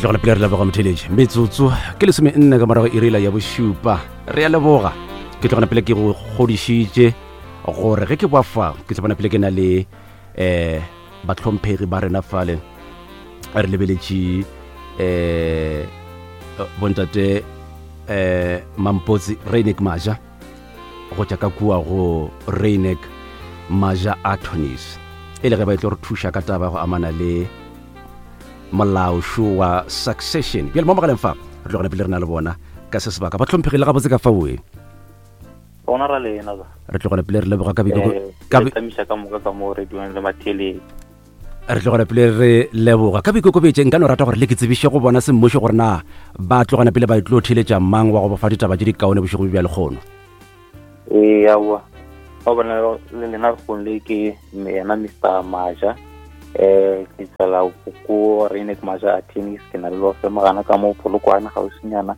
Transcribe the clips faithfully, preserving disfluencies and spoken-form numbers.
Re tlogela pele re leboga motheletši. Metsotso ke lesome nne ka morago irela ya bošupa. Re a leboga. Ke tlogela pele ke go kgodišitše gore ge ke boa fa ke tla bona pele ke na le um bahlomphegi ba rena fale. Re lebeletše um bontate um Mampotsi Reinek Maja go tša ka kua go Reinek Maja Attorneys, e le ge ba e tlo re thuša ka taba go amana le molaošo wa succession. Bjale mo mogaleng fa re tlogela pele re na le bona ka se sebaka. Ba hlomphegile gabotse ka faoe. Gona ra lena ba. Re tlogela pele re leboga ka Eh, re tamiša ka moka ka mo radiong le matheletši. Re tlogela pele re leboga ka boikokobetše. Nka no rata gore le ke tsebiše go bona semmušo gore na ba tlogana pele ba tlo theletša mang wa go bofa ditaba tše di kaone bošego bja lekgono. Ee, aowa. Ga bona le lena lekgong le ke yena Mister Maja. Eh, ke tswela ko Reinek Maja Attorneys, ke na le law firm gana ka mo Polokwane gausinyana.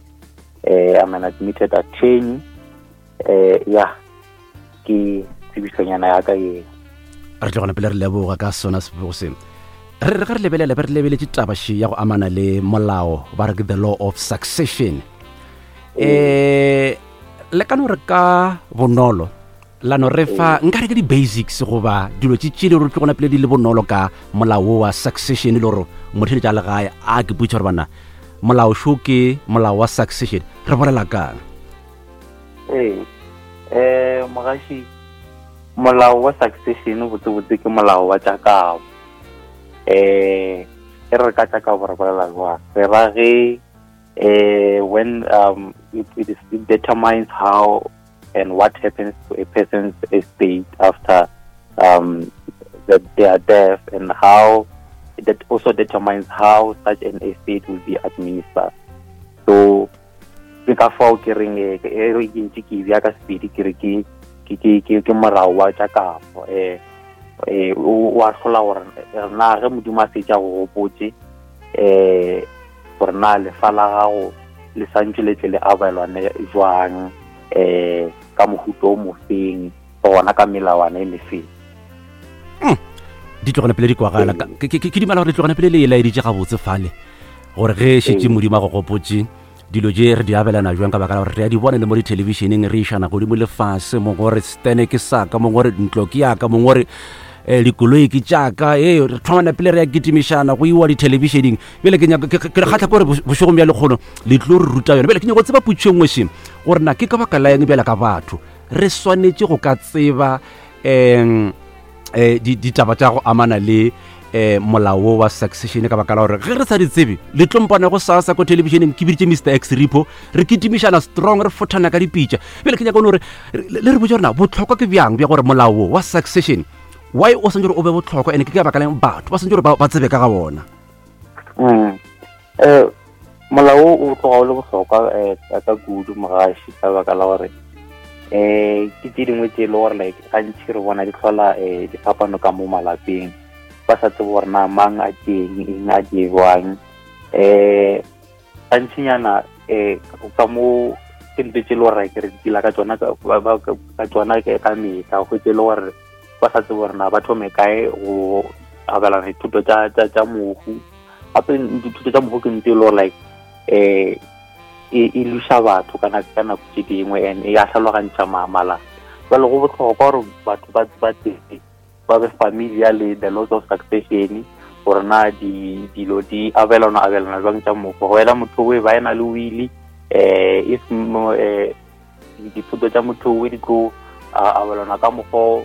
Eh, I'm an admitted attorney. Eh, ya ke tsebišonyana ya ka ye. Re tlogela pele re leboga ka sona sebego se. Re re ge re lebelela be re lebeletše taba še ya go amana le molao ba re ke the law of succession. Eh, le ka no re ka bonolo la no re fa nka re ke di-basics goba dilo tše tše le gore tlogona pele di le bonolo ka molao wa succession, le gore motheletša a legae a ke putša gore bana molao šo ke molao wa succession re bolela kang. Ee, eh mogaši, molao wa succession botsebotse ke molao wa tša kabo. Eh, e re ka tša kabo re bolela jwang? Re ra ge eh when um it, it, is, it determines how and what happens to a person's estate after um the, their death, and how that also determines how such an estate will be administered. So ke ka fao ke reng e re ke ntse ke bja ka sepedi ke re ke ke ke ke ke molao wa tša kabo. Eh eh o a hlola gore na ge Modimo a setša go gopotse eh gore na lefa la gago le santse le tle le abelwane jwang eh ka mohuta o mofeng gona ka melawana e mefeng. Di tlogela pele di kwagala. Ke ke dumela gore di tlogela pele le e laeditše gabotse fale gore ge šetše Modimo a go gopotse dilo tše re di abelana jwang, ka baka la gore re a di bona le mo dithelebišeneng re išana godimo lefase, mongwe gore stene ke saka, mongwe gore ntlo ke yaka, mongwe gore eh dikoloi ke tšaka. Ee, re thomana pele re ya kitimišana go iwa dithelebišeneng. Bjale ke nyaka ke re kgatlha ke gore bošegong bja lekgono le tlo re ruta yone. Bjale ke nyaka go tseba potšo e nngwe še gore na ke ka baka la eng bjale ka batho re swanetše go ka tseba um eh ditaba tša go amana le eh molao wa succession, ka baka la gore ge re sa di tsebe le tlompana go sasa ko televisioneng ke biditše Mister X Repo re kitimišana strong re fothana ka dipitša. Bjale ke nyaka gore le re botse gore na bohlokwa ke bjang bja gore molao wa succession why o santse gore o be bohlokwa, ene ke ka baka la batho ba santse gore ba tsebe ka ga bona. Mm. Eh molao o tloga o le bohlokwa eh ka kudu mogaši, ka baka la gore eh ke tše dingwe tše e le gore like gantši re bona di hlola eh diphapano ka mo malapeng, ba sa tsebe gore na mang a teng eng a di jwang. Eh gantšinyana eh ka mo ke ntho tše e le gore ke re dila ka tsona ka tsona ka mehla, go tše e le gore ba sa tsebe gore na ba thome kae go abelana dithuto tša tša tša mohu. Gape dithuto tša mohu ke ntho e le gore like eh e e luša batho ka nako ka nako tše dingwe and e a tlhalogantšha malapa. Jwale go bohlokwa gore batho ba ba tsebe ba be familiar le the laws of succession, gore na di dilo di abelana abelana jwang tša mohu. Go ela motho o e ba ena le wili eh if eh dithuto tša motho o di tlo abelana ka mokgwa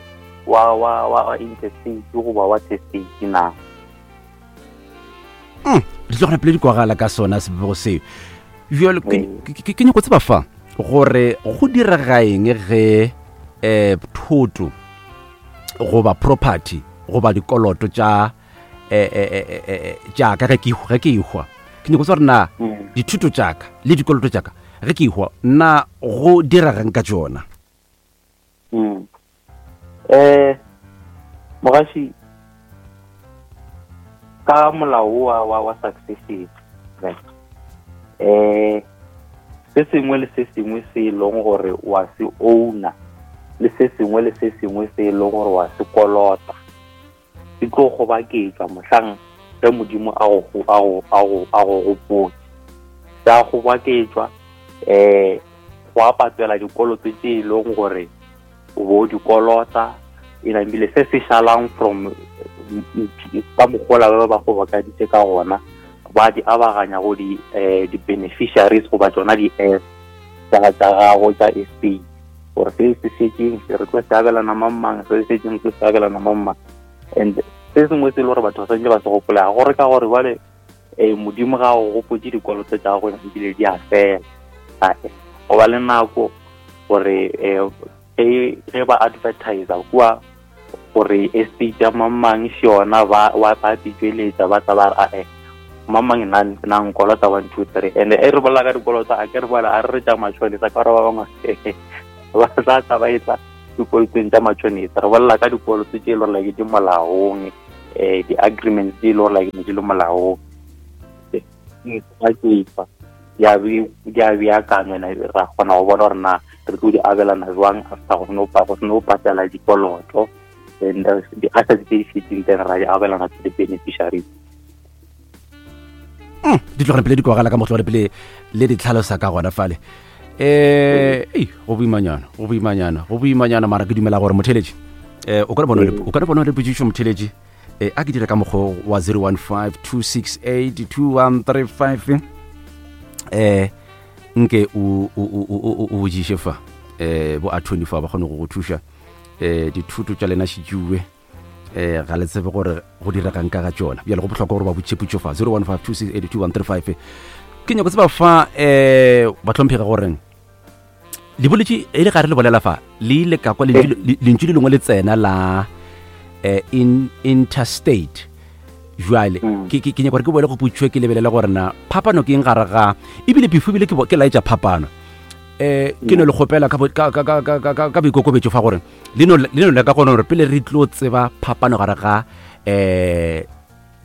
wa wa wa intestate goba wa testate na. Mm, di tlogela pele di kwagala ka sona sebego seo. Bjale ke ke nyako tseba fa gore go direga eng ge eh thoto goba property goba dikoloto tša eh eh tša ka ge ke ge ke ihwa. Ke nyako tseba gore na dithuto tša ka le dikoloto tša ka ge ke ihwa na go diregang ka tšona. Mm. Eh mogaši, ka molao wa wa wa succession right, eh se sengwe le se sengwe se e leng gore wa se owner le se sengwe le se sengwe se e leng gore wa se kolota se tlo gobaketšwa mohlang Ge Modimo a go a go a go a go gopotse, tsa kgoboketšwa, um go a patela dikoloto tše e leng gore o bo dikolota, e namile se se šalang from ka mogola ba ba kgobokaditše ka gona, ba di abaganya go di um di-beneficiaries goba tsona di-heirs tsa tsa gago tša estate, gore se se šetšeng se re tlo se abelana mang mang, se se šetšeng se se abelana mang mang. And se sengwe se e le gore batho ba santse ba se gopolega gore ka gore bale um Modimo ga o gopotse, dikoloto tša gago ebile di a fela. Ae, go ba le nako gore um ge ba advertisa kua gore estate ya mang mang se yona, ba wa ba tšweletša, ba tla ba re, ae, mang mang na na nkolota one two three. And e re bolela ka dikoloto, a ke re bolela a re re tša matšhonisa, ka gore ba bangwe ba tla tla ba etla dikolotong tša matšhonisa. Re bolela ka dikoloto tše e le gore like di molaong, um di-agreements tše e le gore like ne di le molaong, di di a beakanywa, ra kgona go bona gore na re tlo di abelana jwang after go seno go seno patela dikoloto, and di-assets tse di šetšeng then ra di abelana to the beneficiaries. Di tlogela pele di kwagala ka motlogele pele le di tlhalosa ka gona fale. um ei, go boimanyana, go boimanyana, go boimanyana, mara ke dumela gore motheletši um o ka re bona o ka re bona le potšišo. Motheletši, um a ke dire ka mokgwa wa zero one five two six eight two one three five, um nke o o botšiše fa um bo attorney fa ba kgone go go thuša. um dithuto tša lena šitšuwe, um ga le tsebe gore go diregang ka ga tšona. Bjale go bohlokwa gore ba botše potšo fa zero one five two six eight two one three five. Ke nyako tseba fa, um bahlomphega, goreng le boletše e le gare le bolela fa, le ile ka kwa lentšu le lengwe le tsena la um in intestate. Jwale ke ke nyaka gore ke boele go potšwe, ke lebelele gore na phapano ke eng gare ga, ebile before ebile ke laetša phapano, um ke no le kgopela ka boikokobetšo fa gore le no le ka gona gore pele re tlo tseba phapano gare ga um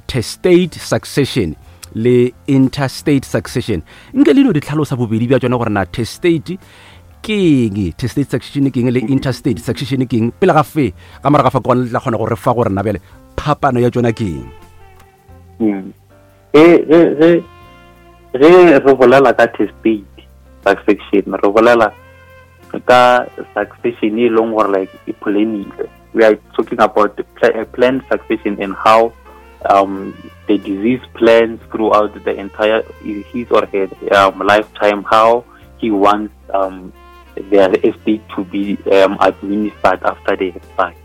testate succession le intestate succession, nke le no di tlhalosa bobedi bja tsona, gore na testate ke eng, testate succession ke eng, le intestate succession ke eng, pele ga fe ga morago fa kone le tla kgona gore fa gore na bjale phapano ya tsona ke eng. Ge re bolela ka testate succession, re bolela ka succession e leng gore like e planile. We are talking about the planned succession and how um, the deceased plans throughout the entire his or her um, lifetime how he wants um, their estate to be um, administered after they have died.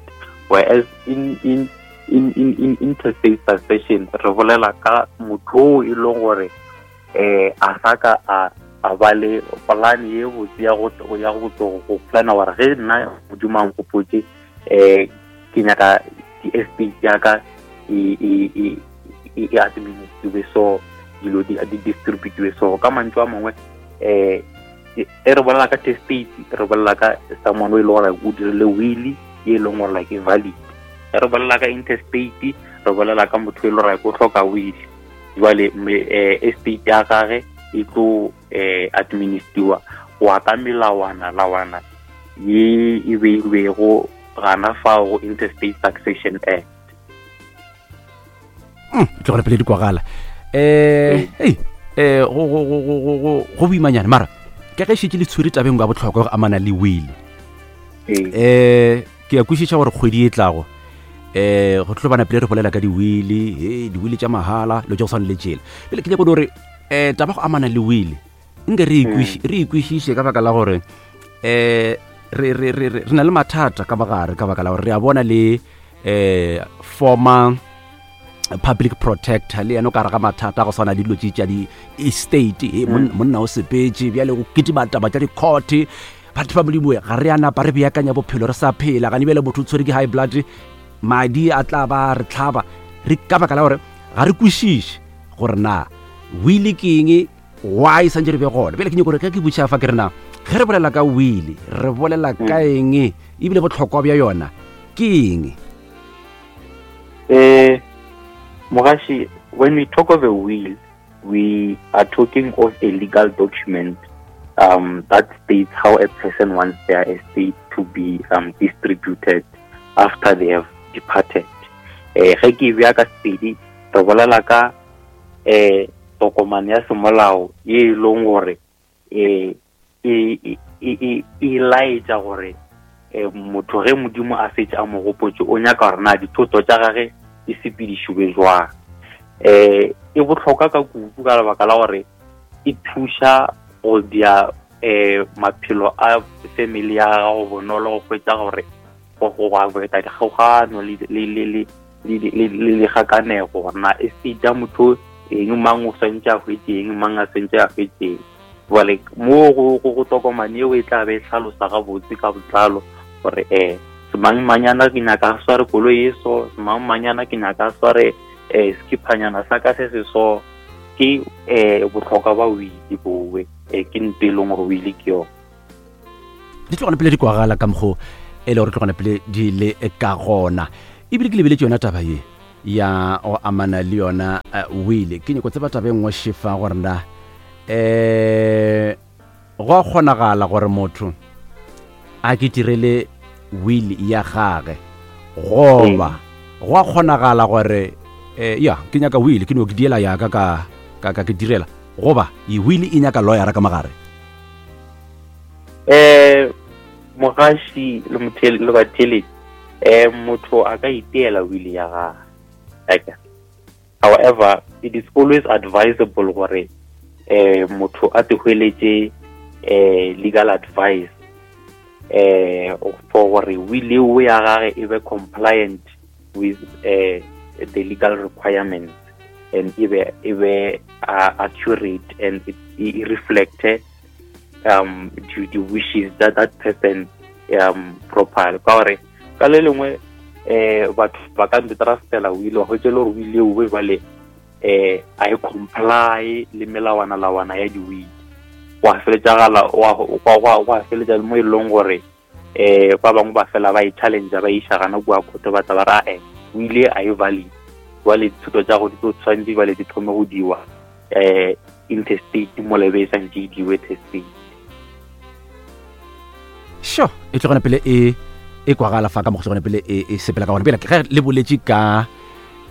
Whereas in in in in, in intestate succession, re bolela ka motho e leng gore eh a sa ka a a ba le plan ye botse ya go ya go go plana gore ge nna Modimo a nkgopotse, eh ke nyaka di-estate ya ka e e e e administriwe, so dilo di di distributiwe. So ka mantšu a mangwe, eh e re bolela ka testate, re bolela ka someone o e leng gore o dirile will e leng gore like e valid. E re bolela ka intestate, re bolela ka motho e leng gore o hloka will. Jwale estate ya gage e tlo eh administriwa go ya ka melawana lawana ye e beilwego gana fao go Intestate Succession Act. Tlogele pele di kwagala. um ei, um go go go go go go boimanyana, mara ke ge šetše le tshwere tabeng ya bohlokwa go amana le will. um ke a kwešiša gore kgwedi e tlago um go tlo bana pele re bolela ka di-will, e di-will tša mahala le tša go tshwana le tšela. Pele ke nyako gore um taba go amana le will nke re re ikwešiše, ka baka la gore um re re re re na le mathata ka bagare, ka baka la gore re a bona le um former public protector le yena o ka re ga mathata go swana le dilo tše tša di-estate. E monna o sepetše, bjale go kitima taba tša di-court. Batho ba Modimo, ga re a napa re beakanya bophelo re sa phela gane. Bjale motho o tshwere ke high blood, madi a tla ba re tlhaba re ka baka la gore ga re kwešiše gore na will ke eng, why santse re be gona. Bjale ke nyako gore ge ke botša fa ke re na ge re bolela ka will, re bolela ka eng, ebile bohlokwa bja yona ke eng? Eh, Mogashi, when we talk of a will, we are talking of a legal document um, that states how a person wants their estate to be um, distributed after they have departed. Eh, ge ke bea ka sepedi, Re bolela ka um tokomane ya semolao ye e leng gore um e e e laetša gore um motho ge Modimo a fetše a mo gopotše, o nyaka gore na dithoto tša gage di sepedišiwe jwang. Um e bohlokwa ka kudu ka lebaka la gore e thuša go dia um maphelo a family ya gago bonolo, go hwetša gore go go avoida dikgaogano le le le le le le dikgakanego, gore na estate ya motho eng, mang o swantše a hwetše eng, mang a swantše a hwetše eng. Jwale mo go go tokomane eo e tla be e hlalosa gabotse ka botlalo gore um semang manyana ke nyaka a sware koloi e so, semang manyana ke nyaka a sware um sekiphanyana sa ka se se so. Ke um bohlokwa ba wili bowe, um ke nto e leng gore wili ke yona. Di tlogana pele di kwagala ka mokgo e le gore tlogana pele di le ka gona. Ebile ke lebeletše yona taba ye ya go amana le yona wili, ke nyako tseba taba e nngwe šefa gore na um go a kgonagala gore motho a ke direle wili ya gage, goba go a kgonagala gore um ya ke nyaka wili ke no ke diela yaka ka ka ka ke direla, goba e wili e nyaka lawyera ka mogare? Um mogaši le mothele le batheletši, um motho a ka iteela wili ya gage. However, it is always advisable gore um motho a te hweletše um legal advice um for gore wili eo ya gage e be compliant with uh, the legal requirements, and e be e be uh, accurate and it, it reflect um the, the wishes that that person um properly. Ka gore ka le lengwe eh batho ba ka ntrustela wili, wa hwetša le gore wili eo jwale eh a e comply le melawana lawana ya di-wili, wa feletšagala wa feletša mo e leng gore eh ba bangwe ba fela ba e challenge, ba iša gana kua court, ba tla ba ra eh wili a e valid, jwale dithuto tša go di tlo tshwanetse jwale di thome go diwa eh interstate mo lebe e santše e diwe testate. Sure, e tlogana pele e e kwagala fa ka mo tlogana pele e e sepela ka gona. Pele ge le boletše ka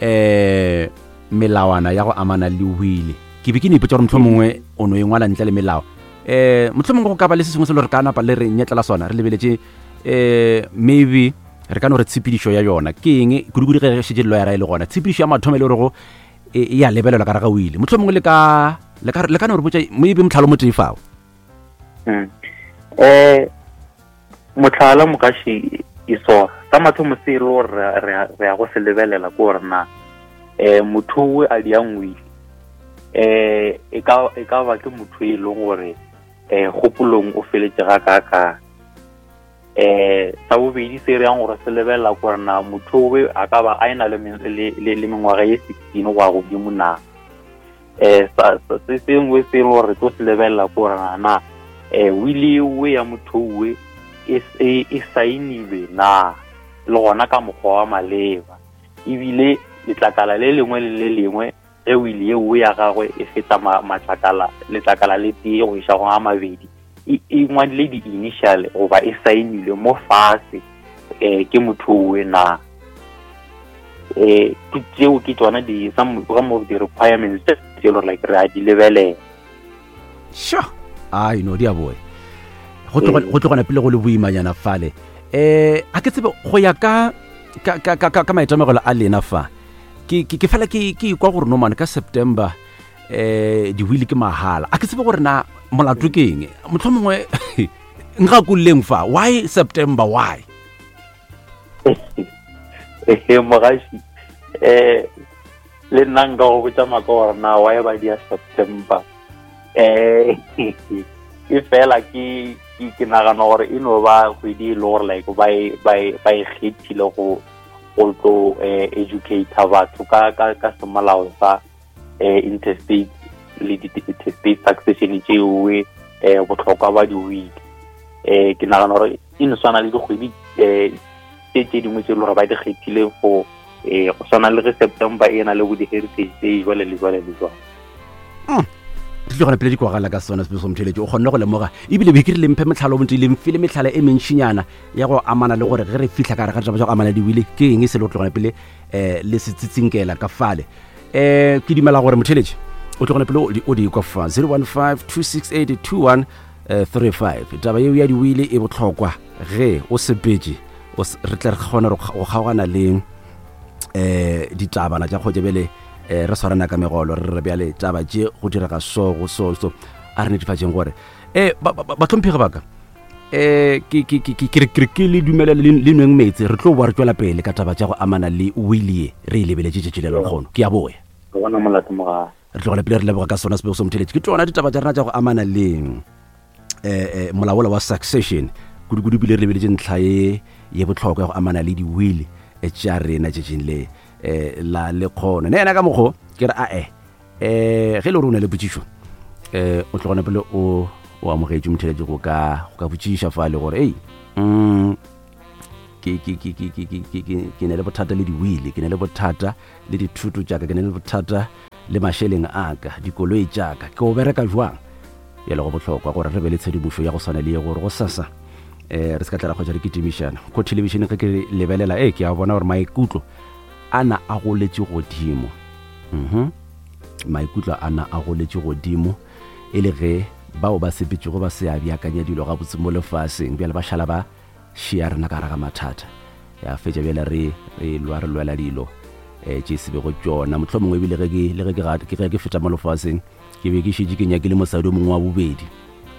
eh melawana ya go amana le wili, ke be ke ne ipotša gore mohlomongwe o no e ngwala ntle le melao. Eh mohlomongwe go ka ba le se sengwe se le re ka napa le re nyetlela sona, re lebeletše eh maybe re ka no re tshepedišo ya yona ke eng, kudu-kudu ge šetše lawyera e le gona, tshepedišo ya mathomo e le gorego e ya lebelelwa ka re ga wili. Mohlomongwe le ka le ka le ka no re botša maybe mohlala o motee fao. Eh mohlala mogaši e so sa mathomo se e le gore re ya go se lebelela ke gore na eh motho o a diang wili eh e ka e ka ba ke motho e leng gore eh kgopolong o feletše ga ka ka. Eh sa bobedi se re yang gore se lebelela ke gore na motho o a ka ba a ena le le mengwaga ye sixteen go ya godimo na. Eh sa se sengwe se e leng gore re tlo se lebelela ke gore na eh wili eo ya motho o e e saenilwe na le gona ka mokgwa wa maleba, ebile letlakala le lengwe le le lengwe ge wili eo ya gagwe e feta matlakala letlakala le tee go iša go a mabedi e ngwadile di-initial goba e saenilwe mo fase um ke motho owe na. Um ke tseo ke tsona di some of the requirements tse e le gore like re a di lebelela. Sure, ai no di a boe go tlogana pele go le boimanyana fale. Eh a ke tsebe go ya ka ka ka ka ka maitemogelo a lena fa, ke ke fela ke ke ikwa gore no man ka September eh diwili ke mahala. A ke tsebe gore na molato ke eng, mohlomongwe nka kulleng fa, why September, why? Eh mogaši eh le nna nka go botša maka gore na why ba dia September. Eh e fela ke ke nagana gore e no ba kgwedi e le gore like ba e ba e ba e kgethile go go tlo educate batho ka ka ka semolao sa eh interstate le di-interstate succession tšeo eh bohlokwa ba di-wili. Eh ke nagana gore e no swana le dikgwedi eh tse tse dingwe tse e le gore ba di kgethile for eh go swana le ge September e na le bo di-heritage day jwale le jwale le jwale. Di tlogana pele di kwagala ka sona sepeso motheletši, o kgonne go lemoga ebile be ke re lemphe metlhalo bontsi le mfile metlhala e mentšinyana ya go amana le gore ge re fihla ka gare ga ditaba tša go amana diwili ke eng se le go tlogana pele um le se tsitsinkela ka fale. Um ke dumela gore motheletše o tlogone pele o di kwa fa zero one five two six eight two one three five. Taba yeo ya diwile e bohlokwa ge o sepetše, re tle re kgone go kgaogana le um ditabana tša kgotse bjale um re swarana ka megolo re re bjale taba tše go direga so go so so a re netefatšeng gore um bahlomphegi baka um ke ke le dumelele le nweng meetse, re tlo boa re tswela pele ka taba tša go amana le wili ye re e lebeletše tšatši le lekgono. Ke a boya re tlogele pele re leboga ka sona sebego se motheletše. Ke tsona ditaba tša rena tša go amana le um molaola wa succession, kudu-kudu pele re lebeletše ntlha ye ye bohlokwa ya go amana le diwili tša rena tšatšing le um la lekgono. Ne yena ka mokgo ke re ae um ge e le gore o na le potšišo um o tlogone pele o o amogetše motheletše go ka go ka botšiša fa le gore ei mm ke ke ke ke ke ke ke ne le bothata le diwili, ke ne le bothata le dithuto tša ka, ke ne le bothata le mašeleng a ka, dikoloi tša ka, ke o bereka jwang. Bjale go bohlokwa gore re be le tshedimošo ya go swana le ye gore go sasa um re se ka tla ra kgotsa re kitimišana ko thelebišeneng. Ge ke lebelela e ke a bona gore maikutlo a na a goletše godimo, mhm maikutlo a na a goletše godimo e le ge bao ba sepetšego ba se a beakanya dilo gabotse mo lefaseng, bjale ba šala ba šia rena ka gare ga mathata. Ya fetša bjale re re lwa re lwela dilo um tše se bego tšona. Mohlomongwe ebile ge ke le ge ke ge ke feta mo lefaseng ke be ke šetše ke nyakile mosadi o mongwe wa bobedi,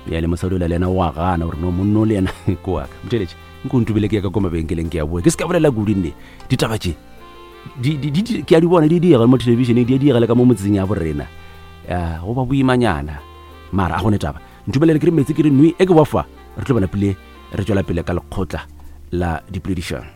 bjale mosadi o le yena o a gana gore no monno le yena ke wa ka. Motheletše nko ntubile ke ya ka ko mabenkeleng ke a boa, ke se ka bolela kudu nne ditaba tše ke a di bona di diega mo thelebišeneng, di a diega le ka mo motseng ya borena, ya go ba boimanyana, mara a gone taba. Ntumelele ke re metsi ke re nwe e ke bofa, re tlo bona pele re tswela pele ka lekgotla la dipoledišano.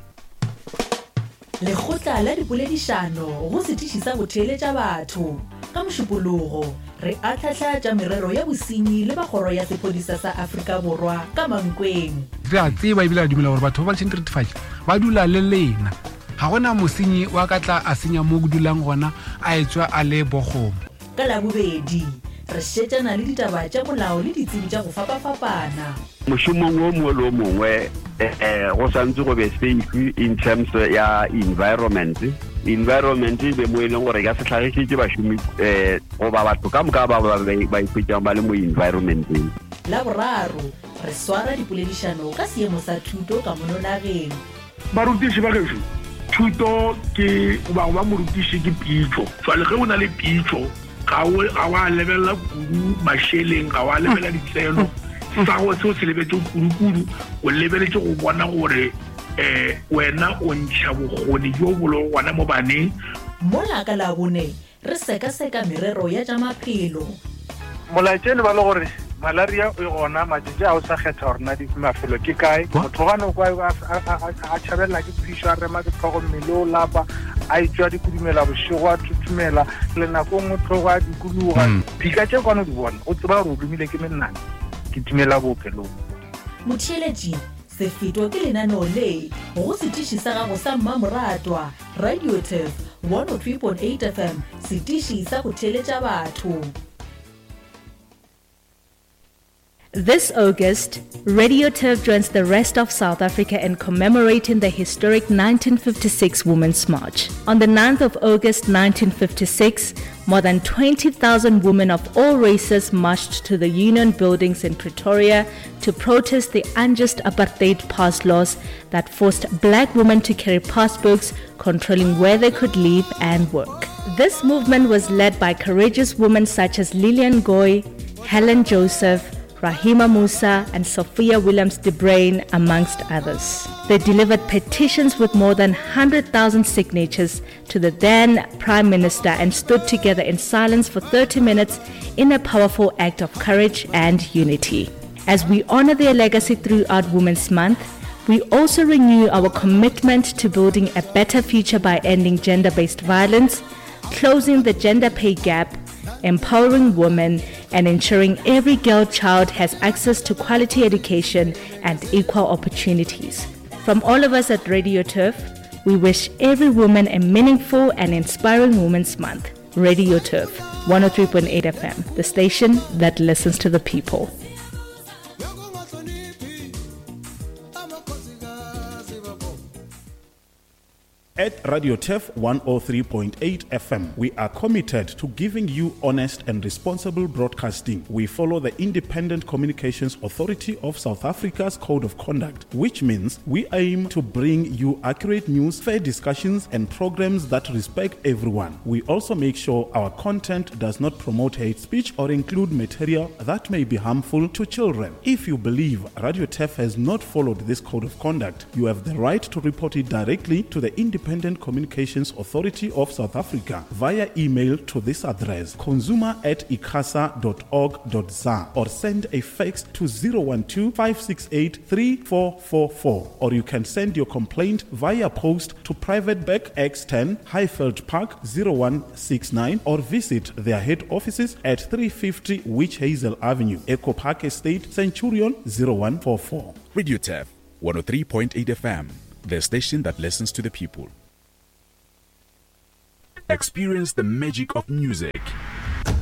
Lekgotla la dipoledišano go setiši sa go theeletša batho. Ka Mošupologo re ahlahla tša merero ya bosenyi le ba kgoro ya sephodisa sa Afrika Borwa ka Mankweng. Re a tseba ebile re dumela gore batho ba ba diretefatši ba dula le lena. Ga gona mosenyi wa ka tla a senya mo go dulang gona a etswa a le bokgomo. Ka Labobedi re šetšana le ditaba tša molao le ditsebi tša go fapafapana. Mošomong o mongwe le o mongwe um go santse go be safe in terms ya environment. Environment e be mo e leng gore e ka se hlagišetše bašomi um goba batho ka moka ba ba ikhwetšang ba le mo environmenteng. Laboraro re swara dipoledišano ka seemo sa thuto ka mono nageng. Barutiši ba gešo, thuto ke goba go ba morutiši ke pitšo. Jwale ge o na le pitšo ga o ga wa lebelela kudu mašeleng, ga wa lebelela ditseno, sa go seo se lebetse kudu-kudu o lebeletse go bona gore um wena o ntšha bokgoni bjo bo lego gona mo baneng. Mola ka Labone re sekaseka merero ya tša maphelo. Molaetša le ba le gore malaria e gona matšatši a o sa kgetha gore na mafelo ke kae. Motho gane kwa a tšhabelela ke phišo, a rema ke tlhogo, mmele o lapa, a etswa dikudumela bošego, a thuthumela le nako nngwe tlhogo a dikologa. Dika tše kwane o di bona o tseba gore o lomile ke menana, ke timela bookelong. Motheeletši se fetwa ke lenaneo le go setiši sa gago sa mmamoratwa Radio Turf one oh three point eight F M, setiši sa go theeletša batho. This August, Radio Turf joins the rest of South Africa in commemorating the historic nineteen fifty-six Women's March. On the ninth of August nineteen fifty-six, more than twenty thousand women of all races marched to the Union Buildings in Pretoria to protest the unjust apartheid pass laws that forced black women to carry passbooks controlling where they could live and work. This movement was led by courageous women such as Lillian Goy, Helen Joseph, Rahima Musa and Sophia Williams de Bruyn, amongst others. They delivered petitions with more than one hundred thousand signatures to the then Prime Minister and stood together in silence for thirty minutes in a powerful act of courage and unity. As we honor their legacy throughout Women's Month, we also renew our commitment to building a better future by ending gender-based violence, closing the gender pay gap, empowering women, and ensuring every girl child has access to quality education and equal opportunities. From all of us at Radio Turf, we wish every woman a meaningful and inspiring Women's Month. Radio Turf, one oh three point eight F M, the station that listens to the people. At Radio Turf one oh three point eight F M, we are committed to giving you honest and responsible broadcasting. We follow the Independent Communications Authority of South Africa's Code of Conduct, which means we aim to bring you accurate news, fair discussions, and programs that respect everyone. We also make sure our content does not promote hate speech or include material that may be harmful to children. If you believe Radio Turf has not followed this Code of Conduct, you have the right to report it directly to the Independent Communications Authority of South Africa via email to this address, consumer at icasa dot org dot za, or send a fax to zero one two, five six eight, three four four four, or you can send your complaint via post to Private Bag X ten, Highveld Park zero one six nine, or visit their head offices at three fifty Witch Hazel Avenue, Echo Park Estate, Centurion zero one four four. Radio Turf one oh three point eight F M, the station that listens to the people. Experience the magic of music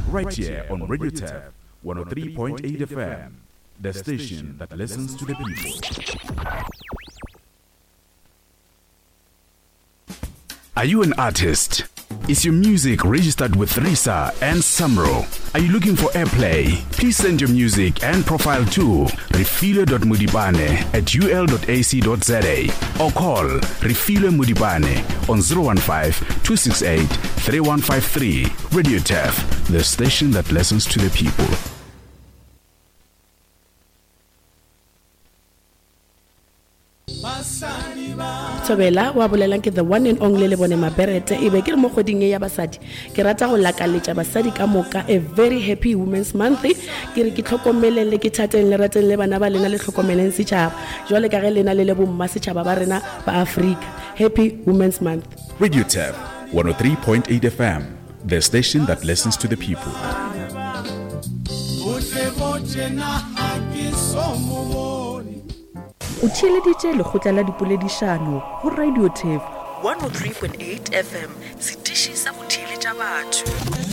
right here on Radio Turf one oh three point eight F M, the station that listens to the people. Are you an artist? Is your music registered with RISA and SAMRO? Are you looking for airplay? Please send your music and profile to refilwe dot modibane at u l dot a c dot z a or call Refilwe Modibane on zero one five, two six eight, three one five three. Radio Turf, the station that listens to the people. Thobela wa bolelang ke the one and only le bone Maberete e be ke re mo kgweding e ya basadi ke rata go lakaletša basadi ka moka a very happy women's month. Ke re ke tlhokomeleng le ke thateng le rateng le bana ba lena le tlhokomeleng setšhaba jwale ka ge lena le le bomma setšhaba ba rena ba Afrika. Happy Women's Month. Radio Turf one oh three point eight F M, the station that listens to the people. O theeleditše lekgotla la dipoledišano go Radio Turf one oh three point eight F M, setiši sa go theeletša batho.